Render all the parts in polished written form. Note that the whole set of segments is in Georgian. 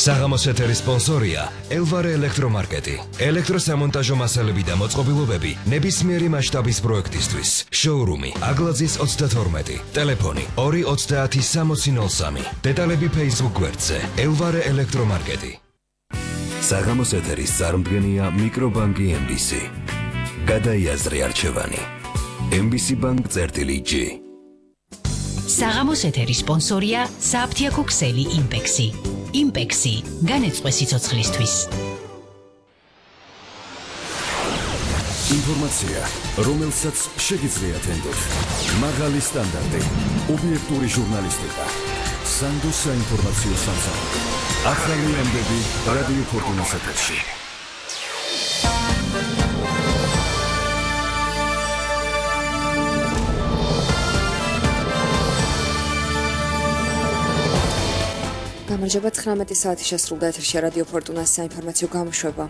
საღამოს ეთერის სპონსორია ელვარე ელექტრომარკეტი. ელექტროსამონტაჟო მასალები და მოწყობილობები ნებისმიერი მასშტაბის პროექტისთვის. შოურუმი აგლაძის 32. ტელეფონი 230-6003. დეტალები Facebook გვერდზე ელვარე ელექტრომარკეტი. საღამოს ეთერის წარმდგენია მიკრობანკი MBC. გადაიაზრე არჩევანი. MBC Bank წერტილი-G. საღამოს ეთერის სპონსორია საფთიაქო ქსელი იმპექსი. იმპექსი განეწყვე სიცოცხლისთვის. ინფორმაცია, რომელსაც შეგიძლიათ ენდოთ. მაღალი სტანდარტი, ობიექტური ჟურნალისტიკა. სანდო საინფორმაციო სამსახური. ახალი ამბები რადიო ფორტუნას ეთერში. გამარჯობა 19 საათი შესრულდა ეთერში რადიო ფორტუნას საინფორმაციო გამოშვება.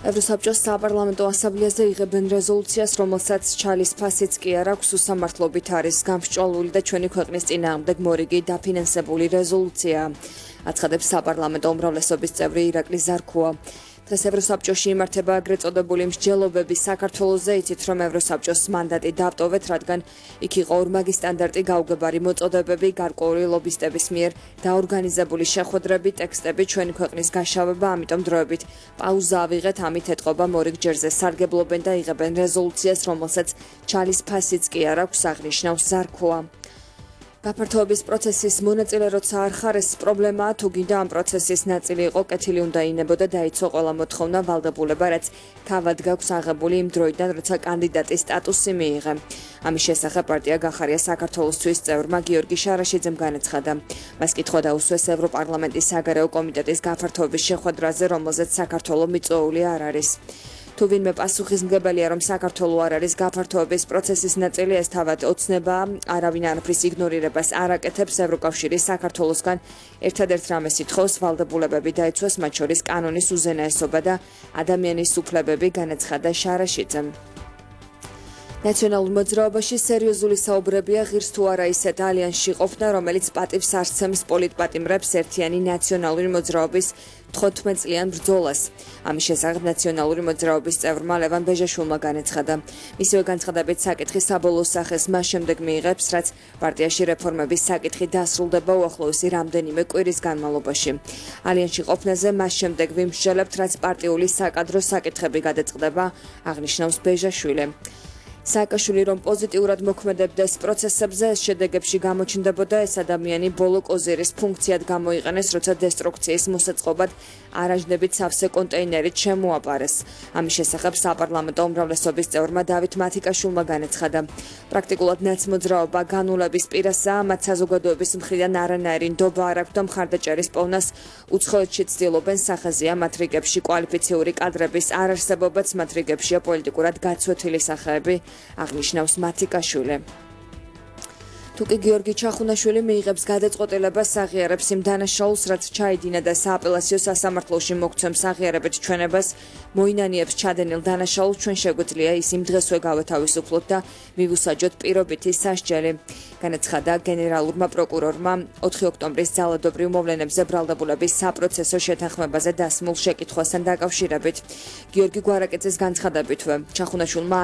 ევროსაბჭოს საპარლამენტო ასამბლეაზე იღებენ რეზოლუციას, რომელსაც ჩალის ფასიც კი არ აქვს, უსამართლობით არის გამსჭვალული და ჩვენი ქვეყნის წინააღმდეგ მორიგი დაფინანსებული რეზოლუცია. აცხადებს საპარლამენტო უმრავლესობის წევრი ირაკლი ზარქუა. დღეს ევროსაბჭოში იმართება ეგრეთ წოდებული მსჯელობები საქართველოზე, იცით რომ ევროსაბჭოს მანდატი დავტოვეთ, რადგან იქ იყო ორმაგი სტანდარტი გაუგებარი მოწოდებები, გარკვეული ლობისტების მიერ დაორგანიზებული შეხვედრები, ტექსტები, ჩვენი ქვეყნის გაშავება, ამიტომ დროებით პაუზა ავიღეთ, ამით ეთყობა მორიგ ჯერზე სარგებლობენ და იღებენ რეზოლუციას, რომელსაც ჩალის ფასიც კი არ აქვს, აღნიშნავს ზარქუა. გაფართოების პროცესის მონაწილე როცა არ ხარ, ეს პრობლემაა, თუ გინდა ამ პროცესის ნაწილი იყო, კეთილი უნდა ინებოდა დაიცო ყველა მოთხოვნა ვალდებულება, რაც თავად გაქვს აღებული იმ დროიდან, როცა კანდიდატის სტატუსი მიიღე. ამის შესახებ პარტია გახარია საქართველოსთვის წევრმა გიორგი შარაშიძემ განაცხადა. მას კითხვა დაუსვეს ევროპარლამენტის საგარეო კომიტეტის გაფართოების შეხვედრაზე, რომელზეც საქართველო მიწვეული არ არის. თუ ვინმე პასუხისმგებელია, რომ საქართველო არ არის გაფართოების პროცესის ნაწილი, ეს თავად ოცნებაა, არავინ არაფრის იგნორირებას არ აკეთებს. ევროკავშირი საქართველოსგან ერთადერთ რამეს ითხოვს, ვალდებულებები დაიცვას, მათ შორის კანონის უზენაესობა და ადამიანის უფლებები, განაცხადა შარაშიძემ. ნაციონალურ მოძრაობაში სერიოზული საუბრებია ღირს თუ არა ისეთ ალიანსში ყოფნა, რომელიც პატივს არცემს პოლიტპატიმრებს ერთიანი ნაციონალური მოძრაობის 15 წლიან ბრძოლას. ამის შესახებ ნაციონალური მოძრაობის წევრმა ლევან ბეჟაშვილმა განაცხადა. მისივე განცხადებით საკითხი საბოლოო სახეს მას შემდეგ მიიღებს, რაც პარტიაში რეფორმების საკითხი დასრულდება უახლოესი რამდენიმე კვირის განმავლობაში. ალიანსში ყოფნაზე მას შემდეგ ვიმსჯელებთ, რაც პარტიული საკადრო საკითხები გადაწყდება, აღნიშნავს ბეჟაშვილი. სააკაშვილი რომ პოზიტიურად მოქმედებდეს პროცესებზე, ეს შედეგებში გამოჩნდებოდა, ეს ადამიანი ბოლო კოზირის ფუნქციად გამოიყენეს, როცა დესტრუქციის მოსაწყობად არაჟნებით სავსე კონტეინერით შემოაპარეს. ამის შესახებ საპარლამენტო უმრავლესობის წევრმა დავით მათიკაშვილმა განაცხადა. პრაქტიკულად ნაცმოძრაობა განულების პირასაა, მათ საზოგადოების მხრიდან არანაირი ნდობა არ აქვს და მხარდაჭერის პოვნას უცხოეთში ცდილობენ, სახაზეა მათ რიგებში კვალიფიციური კადრების არარსებობაც, მათ რიგებშია პოლიტიკურად გაცვეთილი სახეები, აღნიშნავს მათიკაშვილი. თუკი გიორგი ჩახუნაშვილი მიიღებს გადაწყვეტილებას, აღიარებს იმ დანაშაულს, რაც ჩაიდინა და სააპელაციო სასამართლოში მოგცემს აღიარებით ჩვენებას, მოინანიებს ჩადენილ დანაშაულს, ჩვენ შეგვიძლია ის იმ დღესვე გავეთავისუფლოთ და მივუსაჯოთ პირობითი სასჯელი. განაცხადა გენერალურმა პროკურორმა 4 ოქტომბრის ძალადობრივ მოვლენებზე ბრალდებულების საპროცესო შეთანხმებაზე დასმულ შეკითხვასთან დაკავშირებით. გიორგი გვარაკეცის განცხადებითვე ჩახუნაშვილმა